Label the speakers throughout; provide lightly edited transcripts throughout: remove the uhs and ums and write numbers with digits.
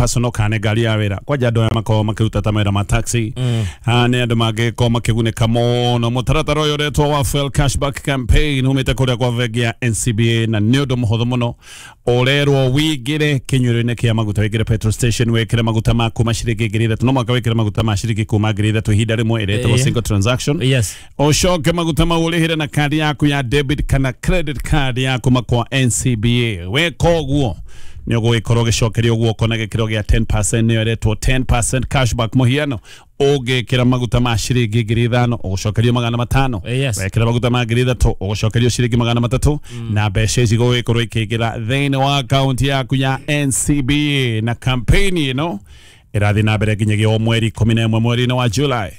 Speaker 1: personal kana nĩ ngari ya wĩra. Kwanja andũ aya makoragwo makĩruta ta mawĩra ma taxi, nĩ andũ mangĩkorwo makĩgunĩka mũno. Mũtaratara ũyũ ũretwo wa fuel cashback campaign umĩte kũrĩa kwa bengi ya NCBA, na nĩ ũndũ mũhũthũ mũno. Ũrerwo wĩingĩre kĩnyuĩro-inĩ kĩa maguta, wĩingĩre petrol station, wĩkĩre maguta ma kuma ciringi 3,000. No mũhaka wĩkĩre maguta ma ciringi kuma 3,000 ihinda rĩmwe, ĩretagwo single transaction. Ũcoke maguta mau ũrĩhĩre na kandi yaku ya debit kana credit card ya kuma kwa NCBA. Weka ũguo nĩ ũgũgĩkorwo ũgĩcokerio guoko na gĩkĩro gĩa 10%, nĩyo ĩretwo 10% cashback. Mũhiano, ũngĩkĩra maguta ma ciringi 5,000, ũgũcokerio 500. Wekĩra maguta ma 3,000, ũgũcokerio ciringi 300, na mbeca ici gũgĩkorwo ikĩingĩra thĩinĩ wa akaunti yaku ya NCBA. Na campaign ĩno ĩrathiĩ na mbere nginyagia o mweri 11 mweri-inĩ wa July.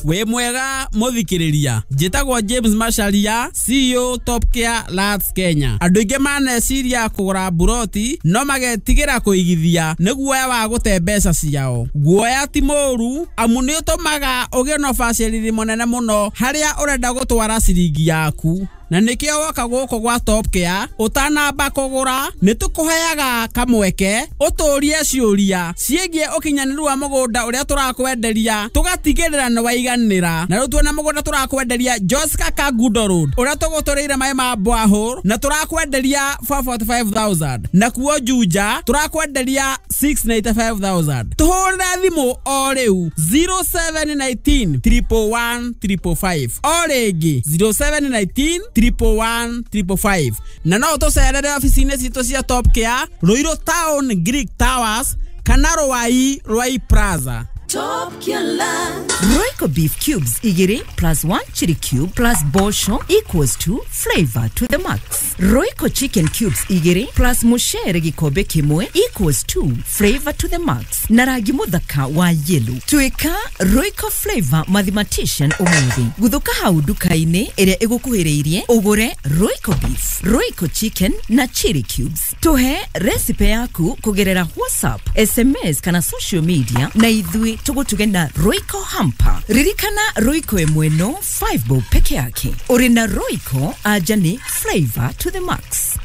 Speaker 2: Wĩ mwega mũthikĩrĩria, njĩtagwo James Macharia, CEO Top Care Lands Kenya. Andũ aingĩ maneciria kũgũra mburoti no magetigĩra kũigithia nĩ guoya wa gũte mbeca ciao. Guoya ti mũũru, amu nĩ ũtũmaga ũgĩe na ũbacĩrĩri mũnene mũno harĩa ũrenda gũtwara ciringi yaku, na nĩkĩo woka gũkũ gwa Top Care, ũtanamba kũgũra nĩ tũkũheaga kamweke ũtũrie ciũria ciĩgiĩ ũkinyanĩru wa mũgũnda ũrĩa tũrakwenderia, tũgatigĩrĩra nĩ waiganĩra. Na rĩu tuona mũgũnda tũrakwenderia Joska Kangundo Road, ũrĩa tũgũtũrĩire maĩ ma borehole, na tũrakwenderia 445,000, na kuo Juja tũrakwenderia 695,000. Tũhũrĩre thimũ o rĩu 0719 111 555, o rĩngĩ 0719 111 555, na no ũtũcerere obici-inĩ citũ cia Top Care, Ruiru Town, Greek Towers, kana Ruai, Ruai Plaza.
Speaker 3: Top Killer.
Speaker 4: Royco beef cubes igiri plus 1 chili cube plus bosho equals to flavor to the max. Royco chicken cubes igiri plus mushere gikombe kimwe equals to flavor to the max. Na rangi muthaka wa yellow. Tuika Royco flavor mathematician umuthi. Guthuka hau nduka-inĩ ĩrĩa ĩgũkuhĩrĩirie ũgũre Royco beef, Royco chicken na chili cubes. Tuhe recipe yaku kugerera WhatsApp, SMS kana social media, na ithuĩ tũgũtuge na Royco hamper. Ririkana, Royco ĩmwe no 5 bob peke yake. Ũrĩ na Royco, anja nĩ flavor to the max.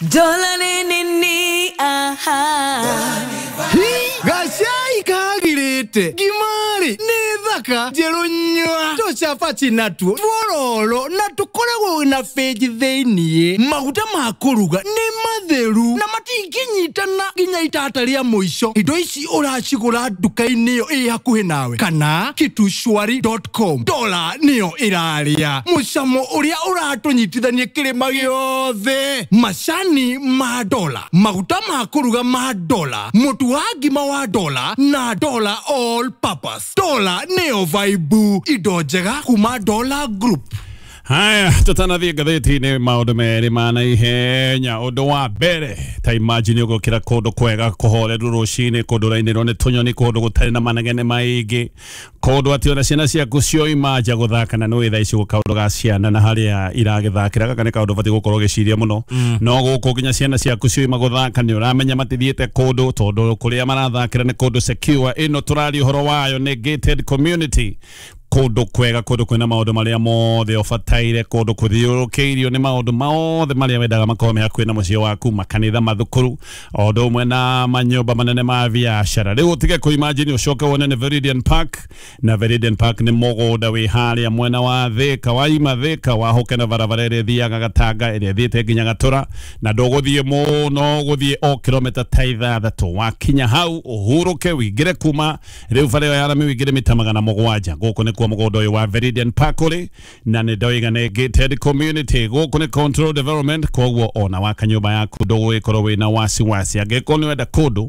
Speaker 3: Dola ni ni aha.
Speaker 5: Gacai kagirĩte ngimari nĩ thaka njerũ nyua, tũcabaci natuo twororo na tũkoragwo na benji thĩiniĩ. Maguta ma kũruga nĩ matheru na matingĩnyitana nginya itata rĩa mũico. Indo ici ũracigũra nduka-inĩ ĩyo ĩ hakuhĩ nawe kana kitushwari.com. Dola nĩyo ĩrarĩa mũcamo ũrĩa ũratũnyitithania kĩrĩma gĩothe. Macani ma dola, maguta ma kũruga ma dola, mũtu wa ngima wa dola na dola all purpose. Dola nĩyo vibe, indo njega kuma Dola Group.
Speaker 1: Haya, tũtanathiĩ ngathĩti-inĩ, maũndũ merĩ ma naihenya. Ũndũ wa mbere, ta imagine ũgũkĩra kũndũ kwega kũhoreru rũcinĩ, kũndũ ũrainĩrwo nĩ tũnyoni, kũndũ gũtarĩ na manegene maingĩ, kũndũ atĩ ona ciana ciaku cioima nja gũthaka, na nĩũĩ thaa ici kaũndũ ga ciana na harĩa iragĩthakĩra, gaka nĩ kaũndũ ũbatiĩ gũkorwo ũgĩciria mũno. No gũkũ nginya ciana ciaku cioima gũthaka nĩ ũramenya matithiĩte kũndũ, tondũ kũrĩa marathakĩra nĩ kũndũ secure. Ĩno tũraria ũhoro wayo nĩ gated community, kũndũ kwega, kũndũ kwĩna maũndũ marĩa mothe ũbataire, kũndũ kũthiũrũrũkĩirio nĩ maũndũ mothe marĩa wendaga makorwo me hakuhĩ na mũciĩ waku, makanitha, mathukuru, o ũndũ ũmwe na manyũmba manene ma biacara. Rĩu ũtige kũ-imagine ũcoke wone nĩ Veridian Park, na Veridian Park nĩ mũgũnda wĩ harĩa mwena wa Thika, waima Thika wahũke na barabara ĩrĩa ĩthiaga Gatanga, ĩrĩa ĩthiĩte nginya Gatũra, na ndũgũthiĩ mũno, ũgũthiĩ o kilomita ta 6. Wakinya hau ũhurũke, wĩingĩre kuma rĩu bara ĩyo ya rami, wĩingĩre mita 700. Gũkũ nĩkuo mũgũnda ũyũ wa Veridian Park ũrĩ, na nĩ ndoiga nĩ gated community. Gũkũ nĩ controlled development, koguo ona waka nyũmba yaku ndũgũgĩkorwo wĩna wasiwasi. Angĩkorwo nĩ wenda kũndũ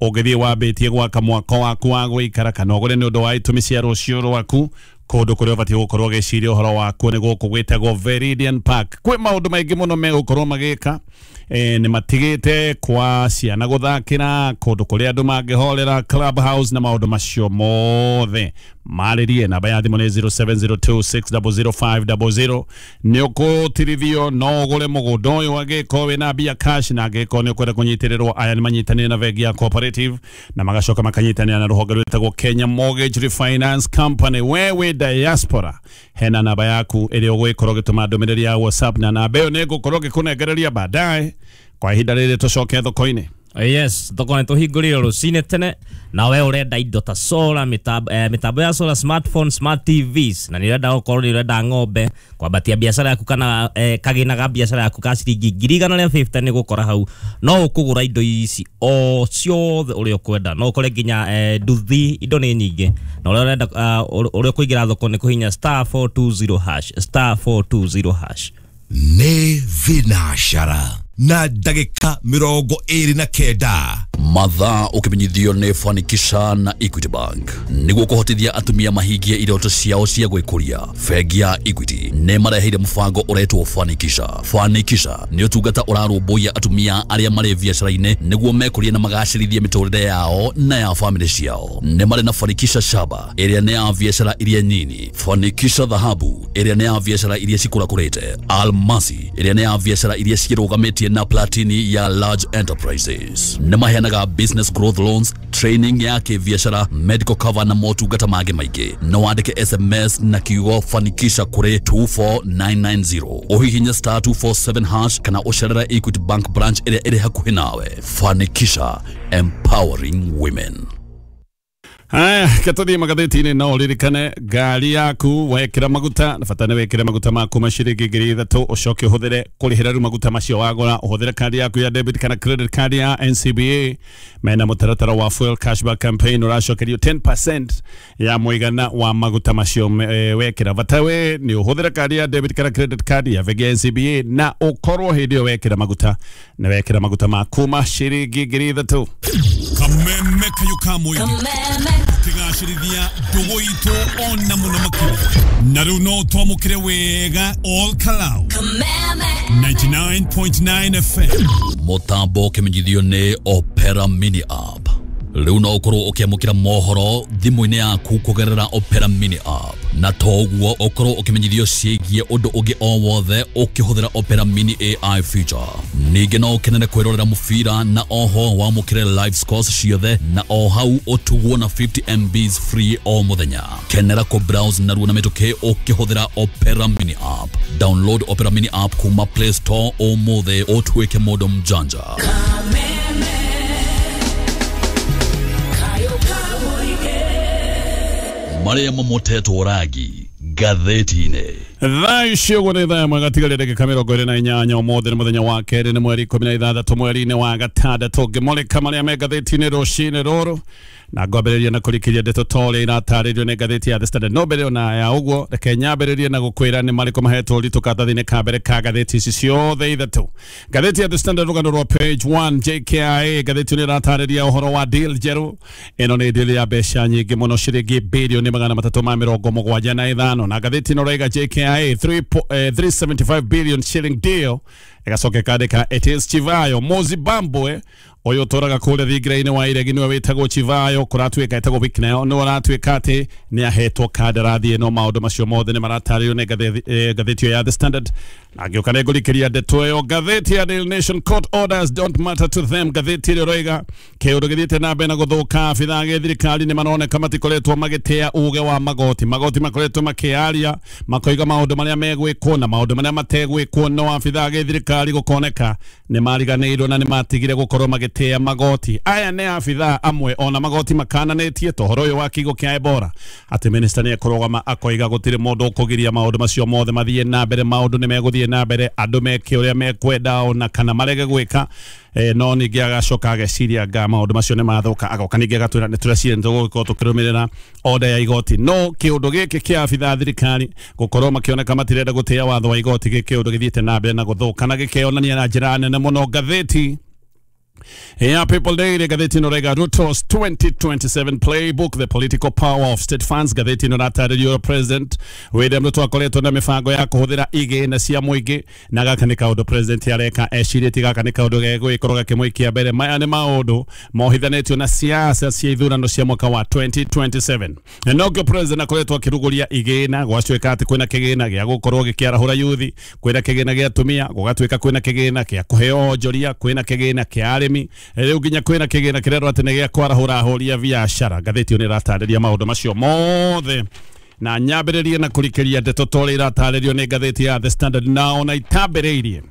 Speaker 1: ũngĩthiĩ wambĩtie gwaka mwako waku wa gũikara, kana ũgũre nĩ ũndũ wa itũmi cia rũciũ rwaku, kũndũ kũrĩa ũbatiĩ gũkorwo ũgĩciria ũhoro wakuo nĩ gũkũ gwĩtagwo Veridian Park. Kwĩ maũndũ maingĩ mũno megũkorwo magĩka, nĩ matigĩte kwa ciana gũthakĩra, kũndũ kũrĩa andũ mangĩhorera, club house na maũndũ macio mothe. Marĩrie, namba ya thimũ nĩ 0702600500. Nĩ ũkũtirithio, no ũgũre mũgũnda ũyũ angĩkorwo wĩna mbia cash, na angĩkorwo nĩ ũkwenda kũnyitĩrĩrwo, aya nĩ manyitanĩire na bengi ya Cooperative na magacoka makanyitanĩra na rũhonge rwĩtagwo Kenya Mortgage Refinance Company. We wĩ diaspora, hena namba yaku ĩrĩa ũgũgĩkorwo ũgĩtũma ndũmĩrĩri ya WhatsApp, na namba ĩyo nĩ ngũkorwo ngĩkũnengereria baadaye. Kwa ihinda rĩrĩ tũcoke thoko-inĩ.
Speaker 6: Yes, thoko nĩ tũhingũrire rũcinĩ tene na we ũrenda indo ta solar, mĩtambo ya solar, smartphone, smart TVs, na nĩ ũrenda gũkorwo nĩ ũrenda ng'ombe kwambatia biacara yaku kana kagĩna ga biacara yaku ka ciringi 150,000 nĩ gũkora hau. No ũkũgũra indo ici o ciothe ũrĩa ũkwenda, no ũkore nginya nduthi, indo nĩ nyingĩ, na ũrĩa ũrenda ũrĩa ũkũingĩra thoko nĩ kũhinya *420#, *420#.
Speaker 7: Nĩ thinashara na ndagĩka 29.
Speaker 8: Mathaa ũkĩmenyithio nĩ Fanikisha na Equity Bank nĩguo kũhotithia atumia mahingie iroto ciao cia gwĩkũria. Bengi ya Equity nĩ mareheire mũbango ũretwo Fanikisha. Fanikisha nĩ ũtungata ũrarũmbũiya atumia arĩa marĩ biacara-inĩ nĩguo mekũrie na magacĩrithie mĩtũrĩre yao na ya famĩlĩ ciao. Nĩ marĩ na Fanikisha Shaba ĩrĩa nĩ ya biacara iria nyini, Fanikisha Dhahabu ĩrĩa nĩ ya biacara iria cikũrakũrĩte, Almasi ĩrĩa nĩ ya biacara iria cirũgamĩtie na Platini ya large enterprises. Nĩ maheanaga business growth loans, training ya kĩbiacara, medical cover na motungata mangĩ maingĩ. No wandĩke SMS na kiugo Fanikisha kũrĩ 24990, ũhihinye *247# kana ũcerere Equity Bank branch ĩrĩa ĩrĩ hakuhĩ nawe. Fanikisha, empowering women.
Speaker 1: Haya, ketũthiĩ magathĩti-inĩ. No ũririkane ngari yaku wekĩra maguta na bata nĩ wĩkĩre maguta maku ma ciringi 3,000, ũcoke ũhũthĩre kũrĩhĩra rĩu maguta macio wagũra, ũhũthĩre kandi yaku ya debit kana credit card ya NCBA. Mena mũtaratara wa fuel cashback campaign, ũracokerio 10% ya mũigana wa maguta macio wekĩra. Bata we nĩ ũhũthĩre kandi ya debit kana credit card ya bengi ya NCBA na ũkorwo hĩndĩ ĩyo wekĩra maguta nĩ wekĩra maguta maku ma ciringi 3,000.
Speaker 9: Kameme kayo ka mũingĩ kĩgacĩrithia ndũgũ itũ ona mũno makĩria, na rĩu no twamũkĩre wega all Kalau 99.9 FM.
Speaker 8: Mũtambo ũkĩmenyithio nĩ Opera Mini App. Rĩu no ũkorwo ũkĩamũkĩra mohoro thimũ-inĩ yaku kũgerera Opera Mini App, na toguo ũkorwo ũkĩmenyithio ciĩgiĩ ũndũ ũngĩ o wothe ũkĩhũthĩra Opera Mini AI feature. Ningĩ no ũkenere kwĩrorera mũbira na oho wamũkĩre live scores ciothe, na o hau ũtugwo na 50 MBs free o mũthenya. Kenera kũ browse narua na mĩtũkĩ ũkĩhũthĩra Opera Mini App. Download Opera Mini App kuma Play Store ũmũthĩ ũtuĩke mũndũ mjanja. Marĩa mamotetwo rangi ngathĩti-inĩ.
Speaker 1: Thaa ici ũguo nĩ thaa ĩmwe gatigaria ndagĩka 28. Ũmũthĩ nĩ mũthenya wa kerĩ, nĩ mweri 16 mweri-inĩ wa gatandatũ. Ngĩmũrĩka marĩa me ngathĩti-inĩ rũcinĩ rũrũ, na ngwambĩrĩria na kũrikĩria ndeto ta ũrĩa iratarĩrio nĩ ngathĩti ya The Standard. No mbere ona ya ũguo, reke nyambĩrĩrie na gũkwĩra nĩ marĩkũ mahetwo ũritũ karatathi-inĩ ka mbere ka ngathĩti ici ciothe ithatũ. Ngathĩti ya The Standard, rũgano rwa page 1, JKIA, ngathĩti nĩ ĩratarĩria ũhoro wa deal njerũ. Ĩno nĩ deal ya mbeca nyingĩ mũno, ciringi birioni 375, na ngathĩti ĩno ĩrauga JKIA 375 billion shilling deal. Ĩgacoka ĩkandĩka it is Chivayo Mozibambwe ũyũ ũtũraga kũrĩa thingira-inĩ wa iregi, nĩwe wĩtagwo Chivayo, kũratuĩka etagwo Wicknell, nĩwe ũratuĩka atĩ nĩ ahetwo kandarathi ĩno. Maũndũ macio mothe nĩ maratarĩrio nĩ ngathĩti ĩyo ya The Standard. Na ngĩũka nĩ ngũrikĩria ndeto ĩyo. Ngathĩti ya Daily Nation, court orders don't matter to them. Ngathĩti ĩrĩa ĩroiga kĩũndũ gĩthiĩte na mbere na gũthũka, abithaa a gĩthirikari nĩ maroneka matikoretwo magĩtĩa uge wa magoti. Magoti makoretwo makĩaria makoiga maũndũ marĩa megwĩkwo na maũndũ marĩa mategwĩkwo, no abithaa a gĩthirikari gũkoneka nĩ mariganĩirwo na nĩ matigire gũkorwo magĩtĩa magoti. Aya nĩ abithaa amwe ona magoti makananĩtie ta ũhoro ũyũ wa kigo kĩa Ebola, atĩ minister nĩ ekũrũgama akoiga gũtirĩ mũndũ ũkũgiria maũndũ macio mothe mathiĩ na mbere, maũndũ nĩ megũthiĩ na mbere, andũ meke ũrĩa mekwenda ona kana marege gwĩka. No ningĩ agacoka ageciria nga maũndũ macio nĩ mathũka, agoka ningĩ agatwĩra nĩ tũreciria nĩ tũgũkorwo tũkĩrũmĩrĩra order ya igoti. No kĩũndũ gĩkĩ kĩa abithaa a thirikari gũkorwo makĩoneka matirenda gũtĩa watho wa igoti, gĩ kĩũndũ gĩthiĩte na mbere na gũthũka na gĩkeyonania na njĩra nene mũno. Ngathĩti ya People Daily, ngathĩti ĩno ĩrauga Ruto's 2027 playbook, the political power of state funds. Ngathĩti ĩno ĩratarĩrio President William Ruto akoretwo na mĩbango ya kũhũthĩra igĩna cia mũingĩ, na gaka nĩ kaũndũ president areka ecirĩtie, gaka nĩ kaũndũ gegũgĩkorwo gakĩmũikia mbere. Maya nĩ maũndũ mohithanĩtio na siasa cia ithurano cia mwaka wa 2027, na nokĩo president akoretwo akĩrugũria igĩna. Gwatuĩka atĩ kwĩna kĩgĩna gĩa gũkorwo gĩkĩarahũra yuthi, kwĩna kĩgĩna gĩa atumia, gũgatuĩka kwĩna kĩgĩna kĩa kũheo onjoria, kwĩna kĩgĩna kĩa arĩmi, rĩu nginya kwĩna kĩgĩna kĩrerwo atĩ nĩ gĩa kwarahũra ahũri a biacara. Ngathĩti ĩyo nĩ ĩratarĩria maũndũ macio mothe, na nyambĩrĩrie na kũrikĩria ndeto ta ũrĩa iratarĩrio nĩ ngathĩti ya The Standard, na ona itambĩrĩirie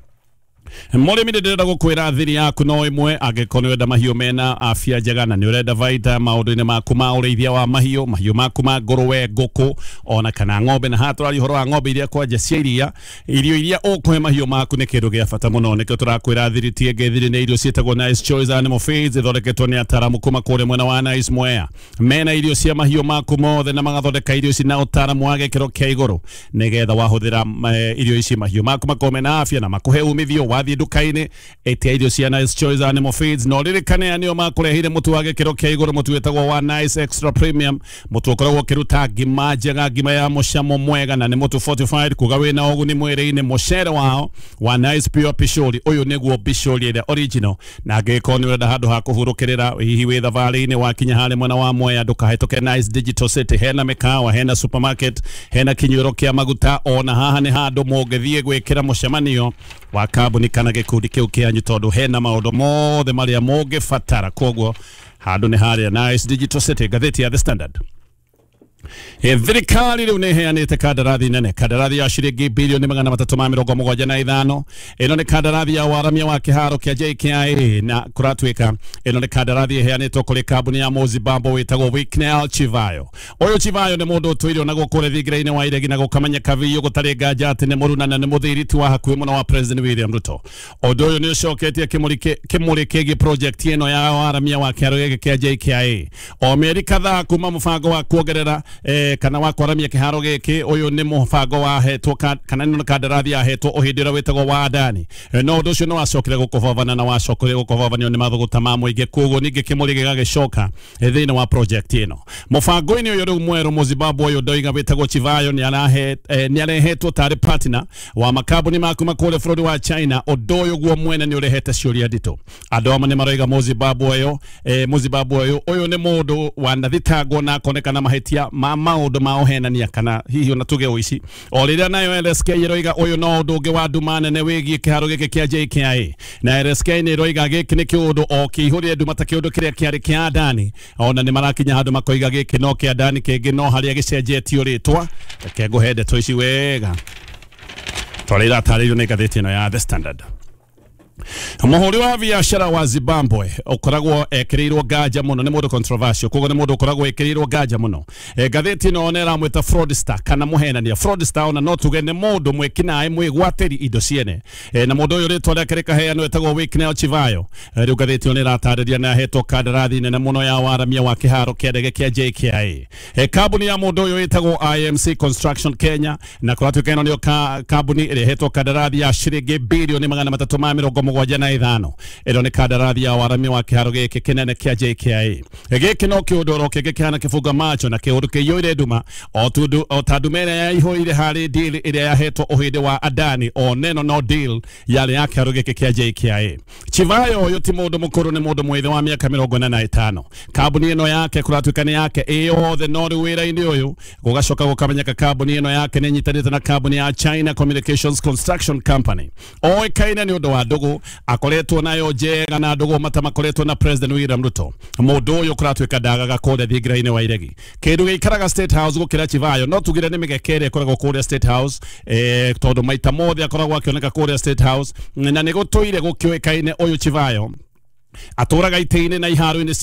Speaker 1: Mũrĩmi ndĩrenda gũkwĩra thiri yaku no ĩmwe angĩkorwo nĩ ũrenda mahiũ mena afya njega na nĩ ũrenda baita maũndũ-inĩ maku ma ũrĩithia wa mahiũ, mahiũ maku ma ngũrũwe, ngũkũ ona kana ng'ombe. Na haha tũraria ũhoro wa ng'ombe iria kwanja cia iria, irio iria ũkũhe mahiũ maku nĩ kĩndũ gĩa bata mũno. Nĩkĩo tũrakwĩra thiri ti ĩngĩ, thiri nĩ irio ciĩtagwo Nice Choice Animal Feeds, ithondeketwo nĩ ataaramu kuma kũrĩa mwena wa Nice Mwea. Mena irio cia mahiũ maku mothe na magathondeka irio ici na ũtaaramu wa gĩkĩro kĩa igũrũ, nĩgetha wahũthĩra irio ici mahiũ maku makorwo mena afya na makũhe umithio. Wathiĩ nduka-inĩ ĩtia irio cia Nice Choice Animal Feeds, na ũririkane nĩo makũrehire mũtu wa gĩkĩro kĩa igũrũ, mũtu wĩtagwo wa Nice Extra Premium, mũtu ũkoragwo ũkĩruta ngima njega, ngima ya mũcamo mwega, na nĩ mũtu fortified kuga wĩna ũguni mwĩrĩ-inĩ. Mũcere wao wa Nice Pure Pishori, ũyũ nĩguo pishori ĩrĩa original, na angĩkorwo nĩ ũrenda handũ ha kũhurũkĩrĩra hihi wĩ thabarĩ-inĩ wakinya harĩa mwena wa Mwea, ndũkahĩtũke Nice Digital City. Hena mĩkawa, hena supermarket, hena kinyuĩro kĩa maguta, ona haha nĩ handũ mũngĩthiĩ gwĩkĩra mũcemanio wa kambuni kana gĩkundi kĩu kĩanyu, tondũ hena maũndũ mothe marĩa mũngĩbatara. Koguo handũ nĩ harĩa Nice Digital City. Ngathĩti ya The Standard. Thirikari rĩu nĩ ĩheanĩte kandarathi nene, kandarathi ya ciringi bilioni 375. Ĩno nĩ kandarathi ya waramia wa kĩharo kĩa JKIA, na kũratuĩka ĩno nĩ kandarathi ĩheanĩtwo kũrĩ kambuni ya Mũzimbabwe wĩtagwo Wicknell Chivayo. Ũyũ Chivayo nĩ mũndũ ũtũire ona gũkũ thingira-inĩ wa iregi na gũkamenyeka biũ gũtarĩ nganja atĩ nĩ mũruna na nĩ mũthiriti wa hakuhĩ mũno wa President William Ruto. Ũndũ ũyũ nĩ ũcoketie kĩmũrĩ kĩgiĩ project ĩno ya waramia wa kĩharo gĩkĩ kĩa JKIA. O mĩeri kadhaa kuma mũbango wa kuongerera kana wa kwaramia kĩharo gĩkĩ, ũyũ nĩ mũbango wahetwo kana nĩ kandarathi yahetwo ũhĩndĩ ũrĩa wĩtagwo wa Adani. No ũndũ ũcio nĩ wacokire gũkũbabana na wacokire gũkũbabanio nĩ mathũgũta ma mũingĩ, koguo ningĩ kĩmũrĩ gĩgagĩcoka thĩinĩ wa project ĩno. Mũbango-inĩ ũyũ rĩu mwerũ, Mũzimbabwe ũyũ ndoiga wĩtagwo Chivayo nĩ arehetwo tarĩ partner wa makambuni ma kuma kũrĩa bũrũri wa China. Ũndũ ũyũ guo mwene nĩ ũrehete ciũria nditũ. Andũ amwe nĩ maroiga Mũzimbabwe ũyũ ũyũ nĩ mũndũ wanathitangwo na akonekana mahĩtia ma maũndũ ma ũhenania kana hihi ona tuge ũici. O rĩrĩa nayo LSK ĩroiga ũyũ no ũndũ ũngĩ wa nduma nene wĩgiĩ kĩharo gĩkĩ kĩa JKIA, na LSK nĩ ĩroiga gĩkĩ nĩ kĩũndũ o kĩihũrie nduma ta kĩũndũ kĩrĩa kĩarĩ kĩa Adani. Ona nĩ marakinya handũ makoiga gĩkĩ no kĩa Adani kĩngĩ no harĩa gĩcenjetio rĩtwa. Reke ngũhe ndeto ici wega tondũ iratarĩirio nĩ ngathĩti ĩno ya The Standard. Mũhũri wa biacara wa Zimbabwe ũkoragwo ekĩrĩirwo nganja mũno, nĩ mũndũ controversial, koguo nĩ mũndũ ũkoragwo ekĩrĩirwo nganja mũno. Ngathĩti ĩno nĩ ĩramwĩta fraudster kana mũhenania. Fraudster ona no tuge nĩ mũndũ mwĩkinaĩ mwĩgwatĩri indo ciene. Na mũndũ ũyũ rĩtwa rĩake rĩkaheanwo etagwo Wicknell Chivayo. Rĩu ngathĩti ĩno nĩ ĩratarĩria nĩ ahetwo kandarathi nene mũno ya waramia wa kĩharo kĩa ndege kĩa JKIA. Kambuni ya mũndũ ũyũ ĩtagwo IMC Construction Kenya, na kũratuĩka ĩno nĩyo kambuni ĩrĩa ĩhetwo kandarathi ya ciringi bilioni 375. Ĩno nĩ kandarathi ya waramia wa kĩharo gĩkĩ kĩnene kĩa JKIA. Gĩkĩ no kĩũndũ oro kĩngĩ kĩhana kĩbunga macho na kĩũndũ kĩiyũire nduma o ta nduma ĩrĩa yaihũire harĩ deal ĩrĩa yahetwo ũhĩndĩ wa Adani, o neno no deal yarĩ ya kĩharo gĩkĩ kĩa JKIA. Chivayo ũyũ ti mũndũ mũkũrũ, nĩ mũndũ mwĩthĩ wa mĩaka 45. Kambuni ĩno yake kũratuĩka nĩ yake ĩ yothe, no rĩu wĩra-inĩ ũyũ gũgacoka gũkamenyeka kambuni ĩno yake nĩ ĩnyitanĩte na kambuni ya China Communications Construction Company. Oĩkaine nĩ ũndũ wa ndũgũ akoretwo nayo njega na ndũgũ mata makoretwo na President William Ruto. Mũndũ ũyũ kũratuĩka ndagaga kũrĩa thingira-inĩ wa iregi. Kĩndũ gĩikaraga State House gũkĩra Chivayo no tugire nĩ mĩgeke ĩrĩa ĩkoragwo kũrĩa State House, tondũ maita mothe akoragwo akĩoneka kũrĩa State House, na nĩ gũtũire gũkĩũĩkaine ũyũ Chivayo atũraga itĩ-inĩ na iharo-inĩ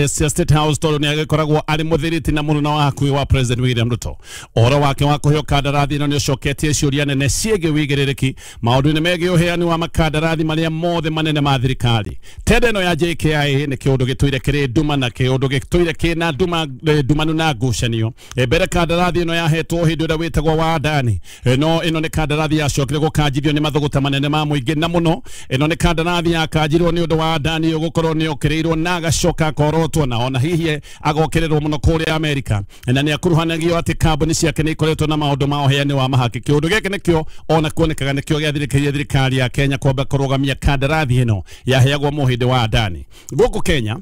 Speaker 1: cia State House tondũ nĩ agĩkoragwo arĩ mũthiriti na mũnene wa hakuhĩ wa President William Ruto. Ũhoro wake wa kũheo kandarathi ĩno nĩ ũcoketie ciũria nene ciĩgiĩ wĩigĩrĩrĩki maũndũ-inĩ megiĩ ũheani wa makandarathi marĩa mothe manene ma thirikari. Tenda ĩno ya JKIA nĩ kĩũndũ gĩtũire kĩrĩ nduma na kĩũndũ gĩtũire kĩna nduma ndumanu na ngucanio. Mbere kandarathi ĩno yahetwo hĩndĩ ĩrĩa wĩtagwo wa Adani, no ĩno nĩ kandarathi yacokire gũkanjithio nĩ mathũgũta manene ma mũingĩ na mũno. Ĩno nĩ kandarathi yakanjirwo nĩ ũndũ wa Adani gukorwo nĩ okĩrĩirwo na agacoka akorotwo na ona hihi agokĩrĩrwo mũno kũrĩa Amerika, na nĩ akuruhanagio atĩ kambuni ciake nĩ ikoretwo na maũndũ ma ũheani wa mahaki. Kĩũndũ gĩkĩ nĩkĩo ona kuonekaga nĩkĩo gĩathirĩkĩirie thirikari ya Kenya kwamba kũrũgamia kandarathi ĩno yaheagwo mũhĩndĩ wa Adani. Gũkũ Kenya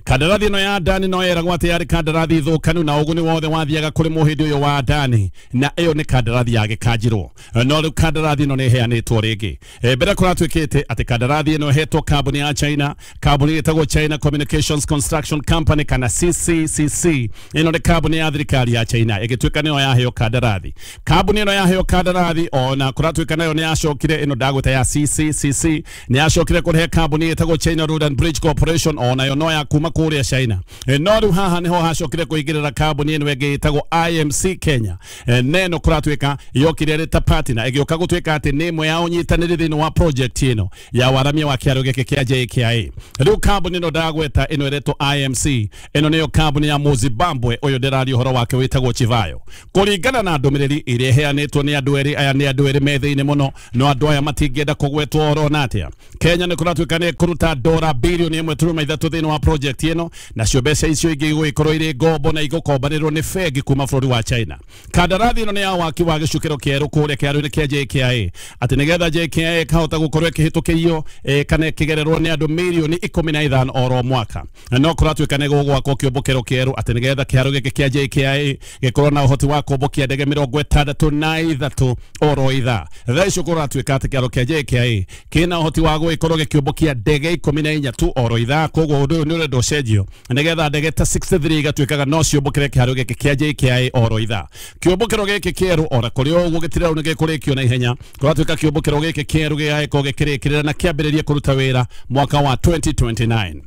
Speaker 1: Kandarathi ĩno ya Adani no yeragwo atĩ yarĩ kandarathi thũkanu na ũguni wothe wathiaga kũrĩ mũhĩndĩ ũyũ wa Adani, na ĩyo nĩ kandarathi ya gĩkanjirwo. No rĩu kandarathi ĩno nĩ ĩheanĩtwo rĩngĩ. Mbere kũratuĩkĩte atĩ kandarathi ĩno ĩhetwo kambuni ya China, kambuni ĩtagwo China Communications Construction Company kana CCCC. Ĩno nĩ kambuni ya thirikari ya China ĩgĩtuĩka nĩyo yaheo kandarathi. Kambuni ĩno yaheo kandarathi ona kũratuĩka nayo nĩ yacokire, ĩno ndagwĩta ya CCCC nĩ yacokire kũrehe kambuni ĩtagwo China Road and Bridge Corporation, onayo no ya kuma kũrĩa China. No rĩu haha nĩho hacokire kũingĩrĩra kambuni ĩno ĩngĩ ĩtagwo IMC Kenya. Neno kũratuĩka yokire ĩrĩ ta partner, ĩgĩũka gũtuĩka atĩ nĩ ĩmwe ya ũnyitanĩri thĩinĩ wa project ĩno ya waramia wa kĩaro gĩkĩ kĩa JKIA. Rĩu kambuni ĩno ndagweta ĩno ĩretwo IMC, ĩno nĩyo kambuni ya Mũzimbabwe ũyũ ndĩraria ũhoro wake wĩtagwo Chivayo. Kũringana na ndũmĩrĩri ĩrĩa ĩheanĩtwo nĩ andũ erĩ aya, nĩ andũ erĩ me thĩinĩ mũno, no andũ aya matingĩenda kũgwetwo oro na atĩa. Kenya nĩ kũratuĩka nĩ ĩkũruta dora bilioni 1.3 thĩinĩ wa project ĩno, nacio mbeca icio ingĩ igũgĩkorwo irĩ ngombo na igũkombanĩrwo nĩ bengi kuma bũrũri wa China. Kandarathi ĩno nĩ ya waki wa gĩcukĩro kĩerũ kũrĩa kĩaro-inĩ kĩa JKIA, atĩ nĩgetha JKIA ĩkahota gũkorwo ĩkĩhĩtũkĩrio kana ĩkĩgererwo nĩ andũ mirioni 15 oro mwaka. No kũratuĩka nĩ gũgwakwo kĩũmbũkĩro kĩerũ atĩ nĩgetha kĩharo gĩkĩ kĩa JKIA gĩkorwo na ũhoti wa kũmbũkia ndege 63 oro ithaa. Thaa icio kũratuĩka atĩ kĩharo kĩa JKIA kĩna ũhoti wa gũgĩkorwo gĩkĩũmbũkia ndege 14 tu oro ithaa. Koguo ũndũ ũyũ nĩ ũrenda ũcenjio nĩgetha ndege ta 63 igatuĩkaga no ciũmbũkĩre kĩharo gĩkĩ kĩa JKIA oro ithaa. Kĩũmbũkĩro gĩkĩ kĩerũ ora kũrĩ o ũguo gĩtirarũ nĩ gĩkũrĩkio na ihenya. Kũratuĩka kĩũmbũkĩro gĩkĩ kĩerũ gĩgagĩkorwo gĩkĩrĩkĩrĩra na kĩambĩrĩrie kũruta wĩra mwaka wa 2029.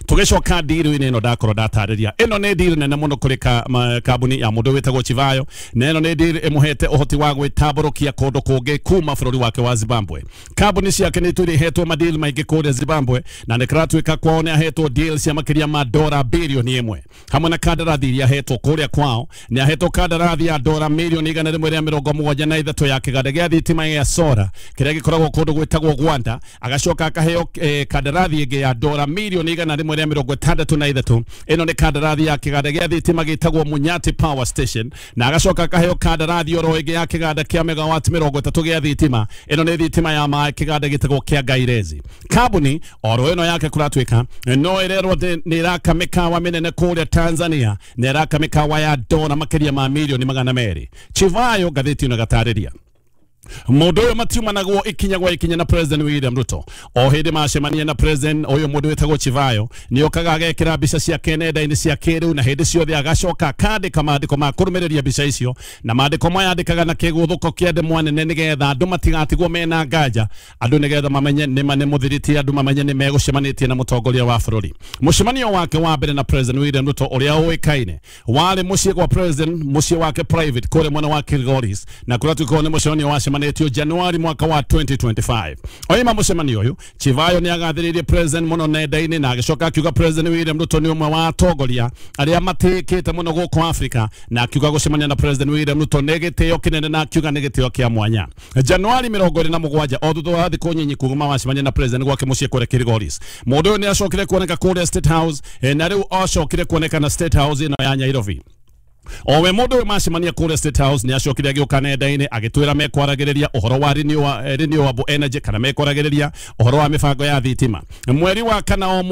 Speaker 1: Tũgĩcoka ndiru-inĩ ĩno ndakorwo ndatarĩria, ĩno nĩ ndiru nene mũno kũrĩ kambuni ya mũndũ wĩtagwo Chivayo, na ĩno nĩ ndiru ĩmũhete ũhoti wa gwĩtambũrũkia kũndũ kũngĩ kuma bũrũri wake wa Zimbabwe. Kambuni ciake nĩ itũire ihetwo madeal maingĩ kũrĩa Zimbabwe, na nĩ kũratuĩka kwao nĩ ahetwo deal cia makĩria ma dora bilioni 1, hamwe na kandarathi iria ahetwo kũrĩa kwao. Nĩ ahetwo kandarathi ya dora milioni 173 ya kĩganda gĩa thitima gĩa Sora kĩrĩa gĩkoragwo kũndũ gwĩtagwo Gwanda. Agacoka akaheo kandarathi ĩngĩ ya dora milioni 163. Ĩno nĩ kandarathi ya kĩganda gĩa thitima gĩtagwo Munyati Power Station, na agacoka akaheo kandarathi oro ĩngĩ ya kĩganda kĩa megawati 30 gĩa thitima. Ĩno nĩ thitima ya maĩ, kĩganda gĩtagwo kĩa Gairezi. Kambuni oro ĩno yake kũratuĩka no ĩrerwo nĩ ĩraka mĩkawa mĩnene kũrĩa Tanzania, na ĩraka mĩkawa ya dora makĩria ma milioni 200. Chivayo ngathĩti ĩno ĩgatarĩria mũndũ ũyũ matiumanagwo ikinya gwa ikinya na President William Ruto. O hĩndĩ macemania na President ũyũ mũndũ wĩtagwo Chivayo nĩ okaga agekĩra mbica ciake nenda-inĩ cia kĩrĩu, na hĩndĩ ciothe agacoka akandĩka maandĩko ma kũrũmĩrĩria mbica icio, na maandĩko maya andĩkaga na kĩgũthũko kĩa ndemwa nene nĩgetha andũ matigatigwo mena nganja, andũ nĩgetha mamenye nĩma nĩ mũthiriti, andũ mamenye nĩ megũcemanĩtie na mũtongoria wa bũrũri. Mũcemanio wake wa mbere na President William Ruto ũrĩa ũĩkaine warĩ mũciĩ kwa President, mũciĩ wake private kũrĩa mwena wa Kilgoris, na kũratuĩka nĩ mũcemanio wa wacemanĩtio Januari mwaka wa 2025. Oima mũcemanio ũyũ, Chivayo nĩ agathĩrĩirie President mũno nenda-inĩ, na agĩcoka akiuga President William Ruto nĩ ũmwe wa atongoria arĩa matĩĩkĩte mũno gũkũ Afrika, na akiuga gũcemania na President William Ruto nĩ gĩtĩo kĩnene, na akiuga nĩ gĩtĩo kĩa mwanya. Januari 27, o thutha wa thikũ nyinyi kuma wacemania na President gwake mũciĩ kũrĩa Kilgoris, mũndũ ũyũ nĩ acokire kuoneka kũrĩa State House, na rĩu acokire kuoneka na State House ĩno ya Nairobi. Owe mũndũ ũyũ macemania kũrĩa State House nĩ acokire agĩũka nenda-inĩ agĩtwĩra mekwaragĩrĩria ũhoro wa renewable energy, kana mekwaragĩrĩria ũhoro wa mĩbango ya thitima. Mweri wa kana o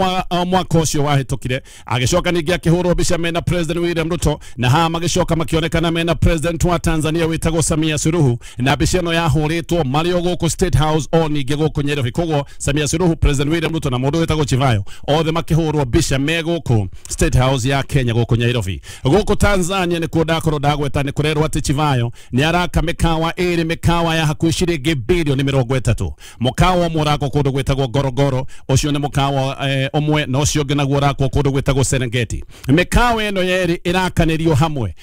Speaker 1: mwaka ũcio wahĩtũkire, agĩcoka ningĩ akĩhũrwo mbica mena President William Ruto, na haha magĩcoka makĩonekana mena President wa Tanzania wĩtagwo Samia Suluhu, na mbica ĩno yahũrĩtwo marĩ o gũkũ State House o ningĩ gũkũ Nairobi. Koguo Samia Suluhu, President William Ruto na mũndũ wĩtagwo Chivayo othe makĩhũrwo mbica me gũkũ State House ya Kenya gũkũ Nairobi. Gũkũ Tanzania nĩ kuo ndakorwo ndagweta nĩ kũrerwo atĩ Chivayo nĩ araka mĩkawa ĩrĩ, mĩkawa ya hakuhĩ ciringi bilioni 30. Mũkawa ũmwe ũrakwo kũndũ gwĩtagwo Ngorongoro, ũcio nĩ mũkawa ũmwe, na ũcio ũngĩ naguo ũrakwo kũndũ gwĩtagwo Serengeti. Mĩkawa ĩno yerĩ ĩrakanĩrio hamwe.